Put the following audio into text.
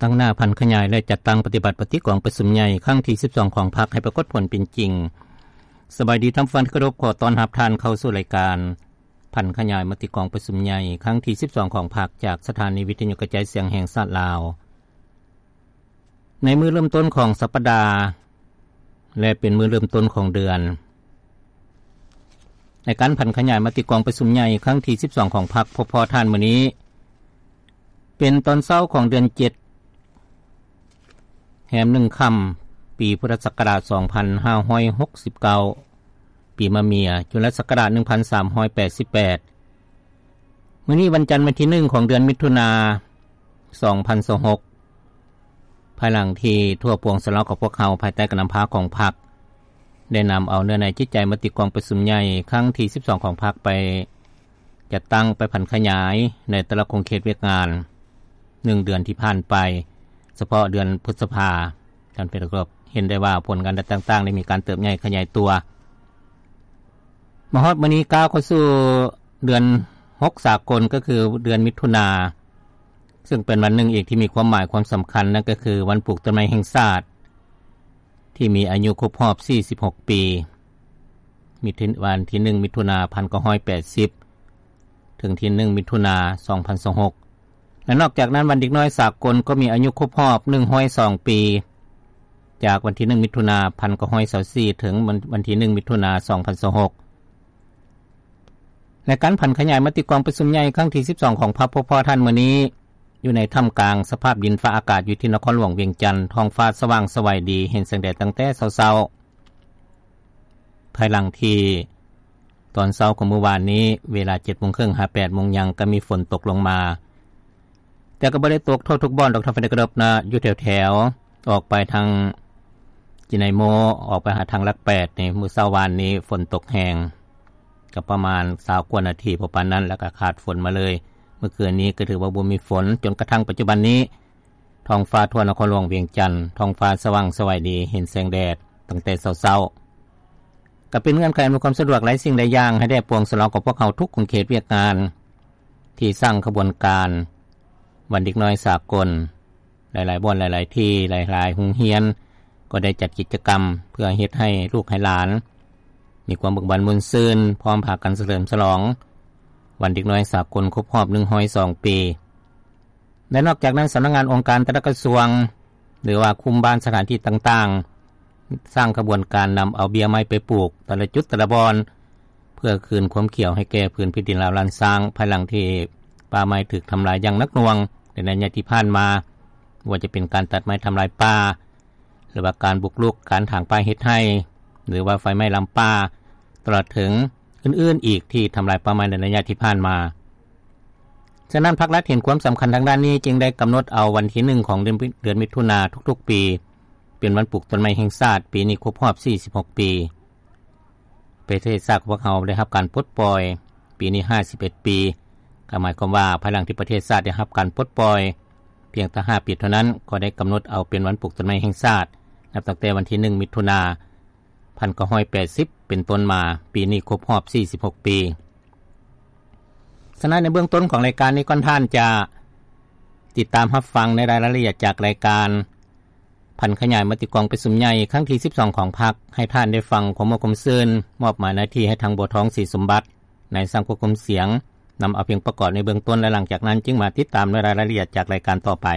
ຕັ້ງໜ້າຜັນຂະຫຍາຍ ແລະ ຈັດຕັ້ງປະຕິບັດມະຕິກອງປະຊຸມໃຫຍ່ຄັ້ງທີສິບສອງຂອງພັກ ໃຫ້ປາກົດຜົນເປັນຈິງ. ສະບາຍດີທ່ານຜູ້ຟັງທີ່ເຄົາລົບ, ຂໍຕ້ອນຮັບທ່ານເຂົ້າສູ່ລາຍການຜັນຂະຫຍາຍມະຕິກອງປະຊຸມໃຫຍ່ຄັ້ງທີສິບສອງຂອງພັກ ຈາກສະຖານີວິທະຍຸກະຈາຍສຽງແຫ່ງຊາດລາວ. ໃນມື້ເລີ່ມຕົ້ນຂອງສັບປະດາ ແລະ ເປັນມື້ເລີ່ມຕົ້ນຂອງເດືອນ ໃນການຜັນຂະຫຍາຍມະຕິກອງປະຊຸມໃຫຍ່ຄັ້ງທີສິບສອງຂອງພັກ ພົບພໍ້ທ່ານມື້ນີ້ ເປັນຕອນເຊົ້າຂອງເດືອນເຈັດ ແຮມໜຶ່ງຄ່ຳ ປີພຸດທະສັກກະລາດສອງພັນຫ້າຮ້ອຍຫົກສິບເກົ້າ ປີມະເມຍ ຈຸລະສັກກະລາດໜຶ່ງພັນສາມຮ້ອຍແປດສິບແປດ. ມື້ນີ້ວັນຈັນ ວັນທີໜຶ່ງຂອງເດືອນມິຖຸນາ ສອງພັນຊາວຫົກ ພາຍຫຼັງທີ່ທົ່ວປວງຊາວລາວຂອງພວກເຮົາ ພາຍໃຕ້ການນຳພາຂອງພັກ ໄດ້ນຳເອົາເນື້ອໃນຈິດໃຈມະຕິກອງປະຊຸມໃຫຍ່ຄັ້ງທີສິບສອງຂອງພັກ ໄປຈັດຕັ້ງ ໄປຜັນຂະຫຍາຍໃນແຕ່ລະຂົງເຂດວຽກງານ ໜຶ່ງເດືອນທີ່ຜ່ານໄປ, ສະເພາະເດືອນພຶດສະພາ ທ່ານເປັນກອບເຫັນໄດ້ວ່າຜົນງານຕ່າງໆ ໄດ້ມີການເຕີບໃຫຍ່ຂະຫຍາຍຕົວ. ມາຮອດມື້ນີ້ ກ້າວເຂົ້າສູ່ເດືອນຫົກສາກົນ ກໍຄືເດືອນມິຖຸນາ ເຊິ່ງເປັນວັນໜຶ່ງອີກທີ່ມີຄວາມໝາຍຄວາມສຳຄັນ ນັ້ນກໍຄືວັນປູກຕົ້ນໄມ້ແຫ່ງຊາດ ທີ່ມີອາຍຸຄົບຮອບສີ່ສິບຫົກປີ ມີວັນທີໜຶ່ງ ມິຖຸນາ ພັນເກົ້າຮ້ອຍແປດສິບ ເຖິງທີໜຶ່ງ ມິຖຸນາ ສອງພັນຊາວຫົກ ແລະ ນອກຈາກນັ້ນ ວັນເດັກນ້ອຍສາກົນກໍມີອາຍຸຄົບຮອບໜຶ່ງຮ້ອຍສອງປີ ຈາກວັນທີໜຶ່ງ ມິຖຸນາ ພັນເກົ້າຮ້ອຍຊາວສີ່ ເຖິງວັນທີໜຶ່ງ ມິຖຸນາ ສອງພັນຊາວຫົກ. ແລະ ການຜັນຂະຫຍາຍມະຕິກອງປະຊຸມໃຫຍ່ຄັ້ງທີສິບສອງຂອງພັກ ພົບພໍ້ທ່ານມື້ນີ້ ຢູ່ໃນທ່າມກາງສະພາບດິນຟ້າອາກາດຢູ່ທີ່ນະຄອນຫຼວງວຽງຈັນ ທ້ອງຟ້າສະຫວ່າງສະໄຫວດີ ເຫັນແສງແດດຕັ້ງແຕ່ເຊົ້າໆ ພາຍຫຼັງທີ່ຕອນເຊົ້າຂອງມື້ວານນີ້ ເວລາເຈັດໂມງເຄິ່ງຫາແປດໂມງຫຍັງ ກໍມີຝົນຕົກລົງມາ ແຕ່ກໍບໍ່ໄດ້ຕົກທົ່ວທຸກບ່ອນດອກ ທ່ານເປັນກອບນະ ຢູ່ແຖວໆ ອອກໄປທາງຈິໄນໂມ ອອກໄປຫາທາງຫຼັກແປດນີ້ ມື້ເຊົ້າວານນີ້ຝົນຕົກແຮງ ກໍປະມານຊາວກວ່ານາທີ ພໍປານນັ້ນ ແລ້ວກໍຂາດຝົນມາເລີຍ. ມື້ຄືນນີ້ກໍຖືວ່າບໍ່ມີຝົນ ຈົນກະທັ້ງປັດຈຸບັນນີ້ ທ້ອງຟ້າທົ່ວນະຄອນຫຼວງວຽງຈັນ ທ້ອງຟ້າສະຫວ່າງສະໄຫວດີ ເຫັນແສງແດດຕັ້ງແຕ່ເຊົ້າໆ. ກໍເປັນເງື່ອນໄຂອຳນວຍຄວາມສະດວກຫຼາຍສິ່ງຫຼາຍຢ່າງ ໃຫ້ແດ່ປວງຊາວລາວຂອງພວກເຮົາທຸກຂົງເຂດວຽກງານ ທີ່ສ້າງຂະບວນການວັນເດັກນ້ອຍສາກົນ. ຫຼາຍໆບ່ອນ ຫຼາຍໆທີ່ ຫຼາຍໆໂຮງຮຽນ ກໍໄດ້ຈັດກິດຈະກຳເພື່ອເຮັດໃຫ້ລູກໃຫ້ຫຼານມີຄວາມເບີກບານມ່ວນຊື່ນ ພ້ອມພາກັນສະເຫຼີມສະຫຼອງວັນເດັກນ້ອຍສາກົນຄົບຮອບໜຶ່ງຮ້ອຍສອງປີ. ແລະ ນອກຈາກນັ້ນ ສຳນັກງານອົງການແຕ່ລະກະຊວງ ຫຼືວ່າຄຸມບ້ານສະຖານທີ່ຕ່າງໆ ສ້າງຂະບວນການນຳເອົາເບ້ຍໄມ້ໄປປູກແຕ່ລະຈຸດແຕ່ລະບ່ອນ ເພື່ອຄືນຄວາມຂຽວໃຫ້ແກ່ພື້ນແຜ່ນດິນລາວລ້ານຊ້າງ ພາຍຫຼັງທີ່ປ່າໄມ້ຖືກທຳລາຍຢ່າງໜັກໜ່ວງໃນໄລຍະທີ່ຜ່ານມາ, ບໍ່ວ່າຈະເປັນການຕັດໄມ້ທຳລາຍປ່າ ຫຼືວ່າການບຸກລຸກການຖາງປ່າເຮັດໄຮ່ ຫຼືວ່າໄຟໄໝ້ລາມປ່າ ຕະຫຼອດເຖິງອື່ນໆອີກທີ່ທຳລາຍປ່າໄມ້ໃນໄລຍະທີ່ຜ່ານມາ. ສະນັ້ນ ພັກລັດເຫັນຄວາມສຳຄັນທາງດ້ານນີ້ ຈຶ່ງໄດ້ກຳນົດເອົາວັນທີໜຶ່ງຂອງເດືອນ ເດືອນມິຖຸນາທຸກໆປີ ເປັນວັນປູກຕົ້ນໄມ້ແຫ່ງຊາດ, ປີນີ້ຄົບຮອບສີ່ສິບຫົກປີ. ປະເທດຊາດຂອງພວກເຮົາໄດ້ຮັບການປົດປ່ອຍ ປີນີ້ຫ້າສິບເອັດປີ, ກໍໝາຍຄວາມວ່າ ພາຍຫຼັງທີ່ປະເທດຊາດໄດ້ຮັບການປົດປ່ອຍ ພຽງແຕ່ຫ້າປີເທົ່ານັ້ນ ກໍໄດ້ກຳນົດເອົາເປັນວັນປູກຕົ້ນໄມ້ແຫ່ງຊາດ ນັບຕັ້ງແຕ່ວັນທີໜຶ່ງ ມິຖຸນາ ພັນເກົ້າຮ້ອຍແປດສິບ ເປັນຕົ້ນມາ, ປີນີ້ຄົບຮອບສີ່ສິບຫົກປີ. ສະນັ້ນ ໃນເບື້ອງຕົ້ນຂອງລາຍການນີ້ ກ່ອນທ່ານຈະຕິດຕາມຮັບຟັງໃນລາຍລະອຽດຈາກລາຍການ ຜັນຂະຫຍາຍມະຕິກອງປະຊຸມໃຫຍ່ຄັ້ງທີສິບສອງຂອງພັກ ໃຫ້ທ່ານໄດ້ຟັງຄວາມມ່ວນຄວາມຊື່ນ, ມອບໝາຍໜ້າທີ່ໃຫ້ທາງບົວທອງ ສີສົມບັດ ນາຍຊ່າງຄວບຄຸມສຽງ ນຳເອົາພຽງປະກອບໃນເບື້ອງຕົ້ນ ແລະ ຫຼັງຈາກນັ້ນຈຶ່ງມາຕິດຕາມໃນລາຍລະອຽດຈາກລາຍການຕໍ່ໄປ.